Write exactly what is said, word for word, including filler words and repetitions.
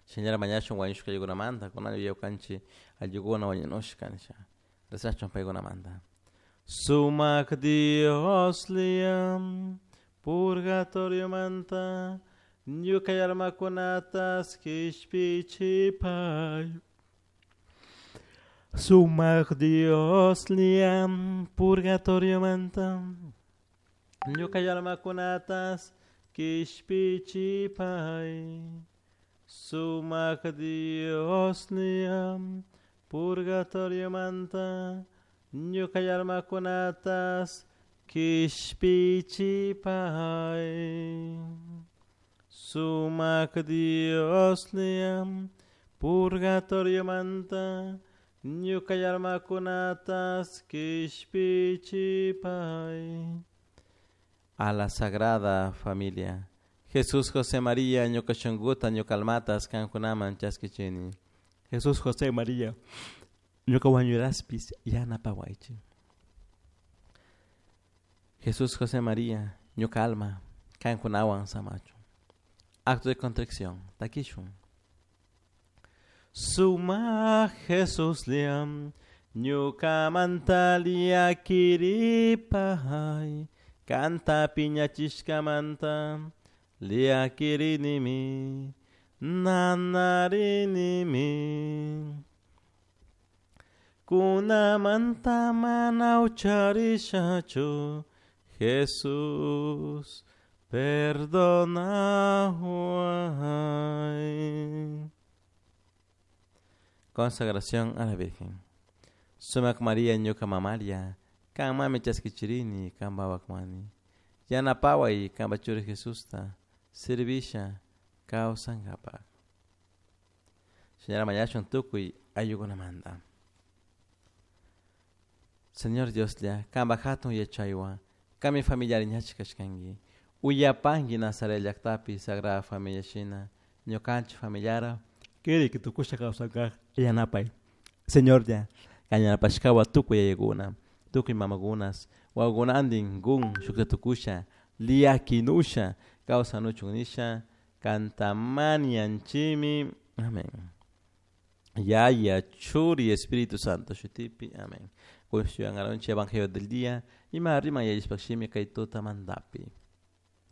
Shinallara mañashun wañushka aylluykunamanta kunan ñukanchik ayllukuna wañunushka nisha rezachun paykunamanta. Sumak Dioslla purgatoriomanta ñuka almakunatas kishpichipay. Sumak Dioslla purgatoriomanta ñuka almakunatas kishpichipay. Sumak Dioslla purgatoriomanta ñuka almakunatas kishpichipay. Sumak Dioslla purgatoriomanta ñuka almakunatas kishpichipay. A la Sagrada Familia. Jesús José María ñuka shunkuta ñuka almatas kankunaman chaskichini. Jesús José María ñuka wañuraspis yanapawaychik. Jesús José María ñuka alma kankunawan samachun. Acto de contrición. Takishun. Sumak Jesuslla ñukamanta llakiripay kanta piñachishkamanta llakirinimi nanarinimi. Kunamanta mana hucharishachu Jesús perdonaway. Consagración a la Virgen. Sumak María ñuka mamaria, kanmami chaskichirini kanpa wawakmani. Yanapaway kanpa churi Jesusta servisha kawsankapak. Señora mañashun tukuy ayllukunamanta. Señor Dioslla, kanpa hatun yachaywan, kanmi familiari ñachik kashkanki. Uyapanki Nazaret llaktapi Sagrada Familia shina, ñukanchik familiara kirik tukusha kawsankaj yanapay. Señorlla, kan yanapashkawan tukuy yayakuna, tukuy mamakunas, wawakunantin kun shukta tukusha, llakinusha kawsanuchun nisha, kanta mañanchimi. Amén. Yaya, Churi, Espíritu Santo shutipi. Amén. Kushyangaronchi Evangelio del día. Ima riman yallishpakshimi kay tutamantapi.